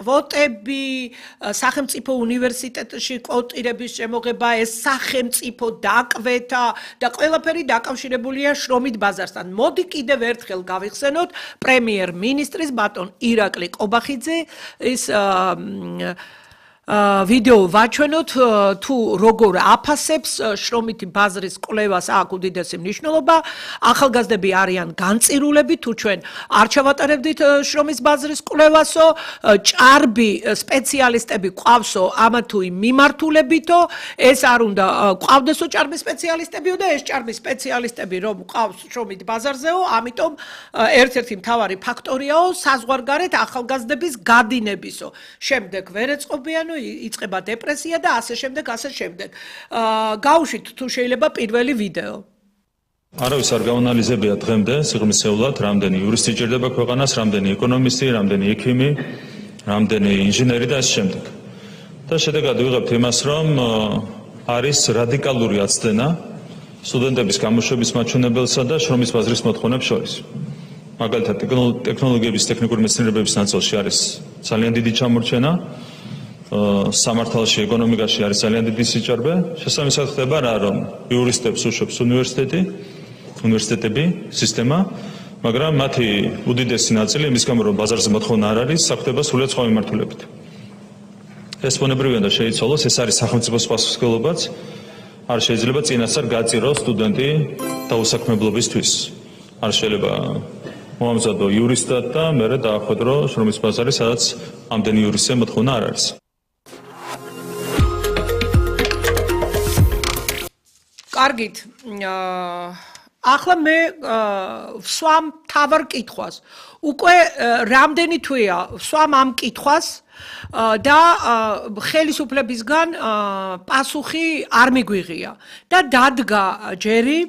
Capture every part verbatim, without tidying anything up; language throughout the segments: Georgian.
კვოტები, სახელმწიფო უნივერსიტეტში კვოტირების შემოღება, ეს სახელმწიფო დაკვეთა და ყველაფერი დაკავშირებულია შრომით ბაზართან. მოდი კიდევ ერთხელ გავიხსენოთ პრემიერ-მინისტრის ბატონ ირაკლი ყობახიძე ის ვიდეო ვაჩვენოთ თუ როგორ აფასებს შრომითი ბაზრის კვლევას აქ უდიდესი მნიშვნელობა ახალგაზრდები არიან განწირულები თუ ჩვენ არ ჩავატარებდით შრომის ბაზრის კვლევასო ჭარბი სპეციალისტები ყავსო ამა თუ იმ მიმართულებითო ეს არ უნდა ყავდესო ჭარბი სპეციალისტებიო და ეს ჭარბი სპეციალისტები რომ ყავს შრომით ბაზარზეო ამიტომ ერთ-ერთი მთავარი ფაქტორიაო საზღვარგარეთ ახალგაზრდების გადინებისო შემდეგ ვერ ეწყობიანო იწყება დეპრესია და ასე შემდეგ, ასე შემდეგ. გავუშვით თუ შეიძლება პირველი ვიდეო. არავის არ გაანალიზებია დღემდე სიღრმისეულად, რამდენი იურისტი ჭირდება ქვეყანას, რამდენი ეკონომისტი, რამდენი ექიმი, რამდენი ინჟინერი და ასე შემდეგ. და შედეგად ვიღებთ იმას, რომ არის რადიკალური აცდენა სტუდენტების გამოშვების მაჩვენებელსა და შრომის ბაზრის მოთხოვნებს შორის. მაგალითად, ტექნოლოგიების ტექნიკური მეცნიერებების ნაწილში არის ძალიან დიდი ჩამორჩენა. სამართალში, ეკონომიკაში არის ძალიან დიდი სიჭარბე. შესაბამისად ხდება რა, რომ იურისტებს უშვებს უნივერსიტეტი, უნივერსიტეტები, სისტემა, მაგრამ მათი უდიდესი ნაწილი იმის გამო, რომ ბაზარზე მოთხოვნა არ არის, საქმდება სრულიად სხვა მიმართულებით. ეს ბუნებრივია და შეიცვალოს, ეს არის სახელმწიფოს პასუხისმგებლობაც. არ შეიძლება წინასწარ გაწიროს სტუდენტი დაუსაქმებლობისთვის. არ შეიძლება მოამზადო იურისტად და მერე დაახვედრო შრომის ბაზარი, სადაც ამდენი იურისტზე მოთხოვნა არ არის. კარგით, ახლა მე ვსვამ თავარ კითხვას. უკვე რამდენი თვეა ვსვამ ამ კითხვას და ხელისუფლებისგან პასუხი არ მიგვიღია და დადგა ჯერი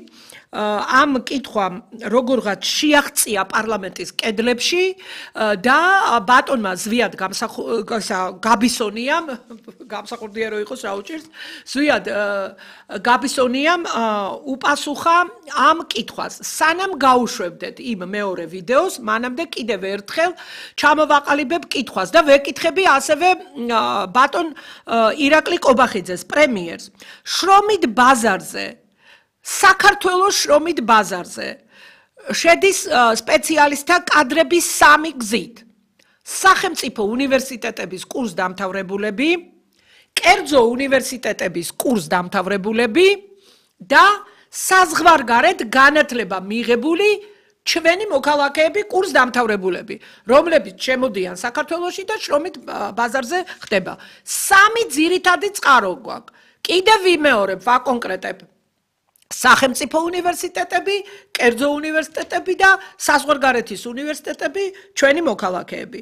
ამ კითხვამ როგორღაც შეაღწია პარლამენტის კედლებში და ბატონმა ზვიად გაბისონიამ გამსახურდია რომ იყოს რა უჭირს ზვიად გაბისონიამ უპასუხა ამ კითხვას სანამ გაუშვებდეთ იმ მეორე ვიდეოს მანამდე კიდევ ერთხელ ჩამოვაყალიბებ კითხვას და ვეკითხები ასევე ბატონ ირაკლი ყობახიძეს პრემიერს შრომით ბაზარზე საქართველოს შრომით ბაზარზე შედის სპეციალისტთა კადრების სამი გზით. სახელმწიფო უნივერსიტეტების კურსდამთავრებულები, კერძო უნივერსიტეტების კურსდამთავრებულები და საზღვარგარეთ განათლება მიღებული ჩვენი მოქალაქეები კურსდამთავრებულები, რომლებიც შემოდიან საქართველოში და შრომით ბაზარზე ხდება. სამი ძირითადი წყარო გვაქვს. კიდევ ვიმეორებ, ვაკონკრეტებ. სახელმწიფო უნივერსიტეტები, კერძო უნივერსიტეტები და საზღვარგარეთის უნივერსიტეტები, ჩვენი მოქალაქეები.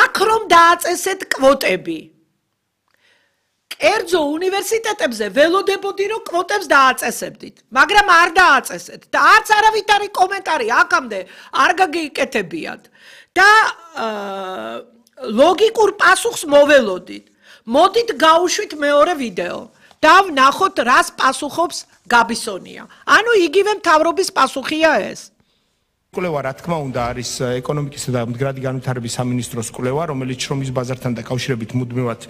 აქ რომ დააწესეთ კვოტები. კერძო უნივერსიტეტებზე ველოდებოდი რომ კვოტებს დააწესებდით, მაგრამ არ დააწესეთ და არც არავითარი კომენტარი აქამდე არ გაგიკეთებიათ და ლოგიკურ პასუხს მოველოდით. მოდით გავუშვით მეორე ვიდეო. და ვნახოთ რას პასუხობს გაბისონია. ანუ იგივე მთავრობის პასუხია ეს. კვლევა რა თქმა უნდა არის ეკონომიკისა და მდგრადი განვითარების სამინისტროს კვლევა, რომელიც შრომის ბაზართან დაკავშირებით მუდმივად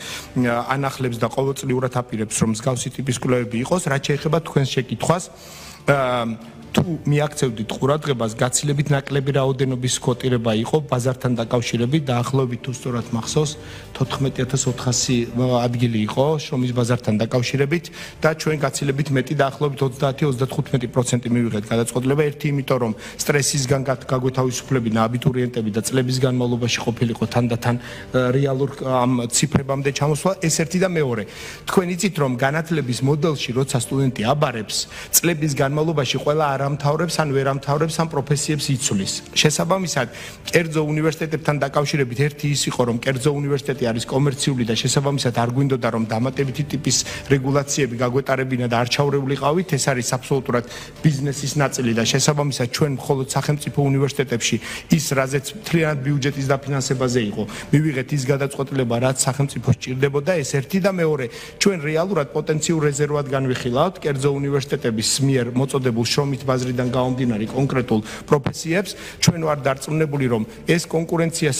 ანახლებს და ყოველწლიურად აპირებს, რომ მსგავსი ტიპის კვლევები იყოს, რაც შეეხება თქვენს შეკითხვას. თუ მიაქცევდით ყურადღებას, გაცილებით ნაკლები რაოდენობის კვოტირება იყო ბაზართან დაკავშირებით, დაახლოებით თუ სწორად მახსოვს, თოთხმეტი ათას ოთხასი ადგილი იყო შრომის ბაზართან დაკავშირებით და ჩვენ გაცილებით მეტი დაახლოებით ოცდაათი ოცდათხუთმეტი პროცენტი მივიღეთ გადაწყვეტილება, ერთი იმიტომ რომ სტრესისგან გაგვეთავისუფლებინა აბიტურიენტები და წლების განმავლობაში ყოფილიყო თანდათან რეალურ ამ ციფრებამდე ჩამოსვლა, ეს ერთი და მეორე. თქვენ იცით რომ განათლების მოდელში, როცა სტუდენტი აბარებს, წლების განმავლობაში ყველა ამთავრებს ან ვერ ამთავრებს ამ პროფესიებს იცვლის. შესაბამისად, კერძო უნივერსიტეტებთან დაკავშირებით ერთი ის იყო, რომ კერძო უნივერსიტეტი არის კომერციული და შესაბამისად არ გვინდოდა რომ დამატებითი ტიპის რეგულაციები გაგვეტარებინა და არ ჩაურევლიყავით, ეს არის აბსოლუტურად ბიზნესის ნაწილი და შესაბამისად ჩვენ მხოლოდ სახელმწიფო უნივერსიტეტებში ის რაზეც მთლიანად ბიუჯეტის დაფინანსებაზე იყო, მივიღეთ ის გადაწყვეტილება, რაც სახელმწიფოს ჭირდებოდა, ეს ერთი და მეორე, ჩვენ რეალურად პოტენციურ რეზერვად განვიხილავთ კერძო უნივერსიტეტების მიერ მოწოდებულ შრომით ბაზრიდან გამომდინარე კონკრეტულ პროფესიებს, ჩვენ ვარ დარწმუნებული, რომ ეს კონკურენციასა